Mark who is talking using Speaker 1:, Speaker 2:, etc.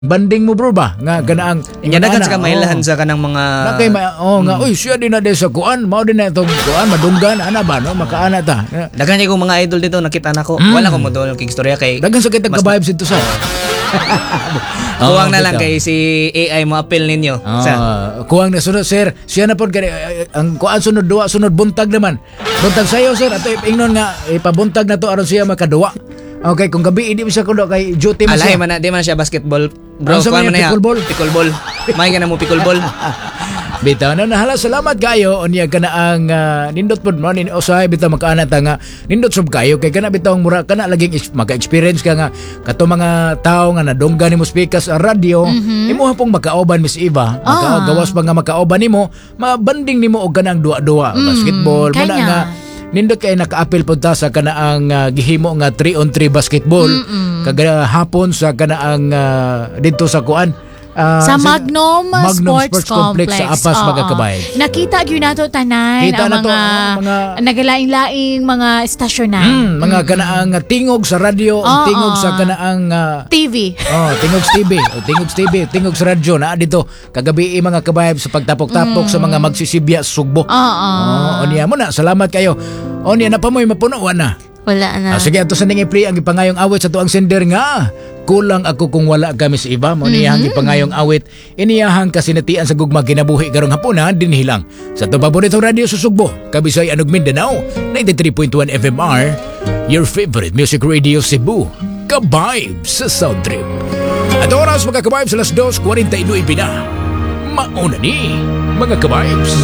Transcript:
Speaker 1: Banding mo, bro, ba nga ganaang
Speaker 2: Nya daghan
Speaker 1: ana,
Speaker 2: sa kamailahan sa kanang mga
Speaker 1: Na kay ma, oh, nga uy, siya din na din sa kuan, mao din na itong kuan, madunggan ana ba, no, makaana ta.
Speaker 2: Daghan kay kong mga idol dito nakita nako. Wala ko mo doon kay istorya kay
Speaker 1: Daghan sa kitang ka-vibes dito sa
Speaker 2: Kuwang na
Speaker 1: Oh,
Speaker 2: lang
Speaker 1: bitaw.
Speaker 2: kay si AI mo appeal ninyo. Sa
Speaker 1: Ah, kuwang na sunod, sir. Siya na pod kani ang kuan sunod duwa, sunod buntag naman. Buntag sayo, sir, ato ingnon nga ipabuntag na to aron siya makaduwa. Okay, kung gabi hindi mo siya kuno kay duty mo
Speaker 2: Alay
Speaker 1: siya.
Speaker 2: man na, di man siya basketball. Bro,
Speaker 1: Ano sa
Speaker 2: kuwan
Speaker 1: mga
Speaker 2: man na ya.
Speaker 1: pickleball?
Speaker 2: Pickleball. May ka na mo pickleball.
Speaker 1: Bitaw na nahala, salamat kayo unya kana ang nindot pod mo ni usahay bitaw makaana ta nga nindot sub kayo kay kana bitaw ang mura kana laging maka-experience ka nga kato mga tao nga nadunggan nimo speakers sa radyo, imuha pong makauban, Miss Eva, maka, gawas pa nga makauban nimo, mabanding nimo og kanang duwa-duwa basketball mo na
Speaker 3: kanya.
Speaker 1: Nga nindot kay naka-apil pud ta sa kanaang gihimo nga 3 on 3 basketball kagahapon sa kanaang didto sa kuan
Speaker 3: Sa Magnum,
Speaker 1: Magnum
Speaker 3: Sports Complex.
Speaker 1: Sa Apas, mga kabayan.
Speaker 3: Nakita gyud nato tanan
Speaker 1: Kita
Speaker 3: ang
Speaker 1: nato,
Speaker 3: mga, nagalaing-laing mga estasyonan.
Speaker 1: Mga kanaang tingog sa radyo, ang tingog sa kanaang
Speaker 3: TV.
Speaker 1: Oh, tingog sa TV, oh, tingog sa TV, tingog sa radyo na dito kagabi, mga kabayan, sa pagtapok-tapok sa mga magsisibya sa Sugbo. Oh, unya mo na, salamat kayo. Unya na pa mo'y mapuno wa na.
Speaker 4: Wala na.
Speaker 1: Ah, sige, ato sa ning i-play ang ipangayong awit sa tuang sender nga "Kulang Ako Kung Wala Ka, Miss Eva." Mo niyahang ipangayong awit. Iniyahang kasinatian sa gugma kinabuhi karong hapuna dinhi lang sa atong paboritong radio sa Sugbo, Kabisay anog Mindanao, 93.1 FMR, your favorite music radio Cebu. Ka-Vibes sa Sound Trip. At oras, mga ka-vibes, alas 2:49 na. Mauna ni, mga ka-vibes.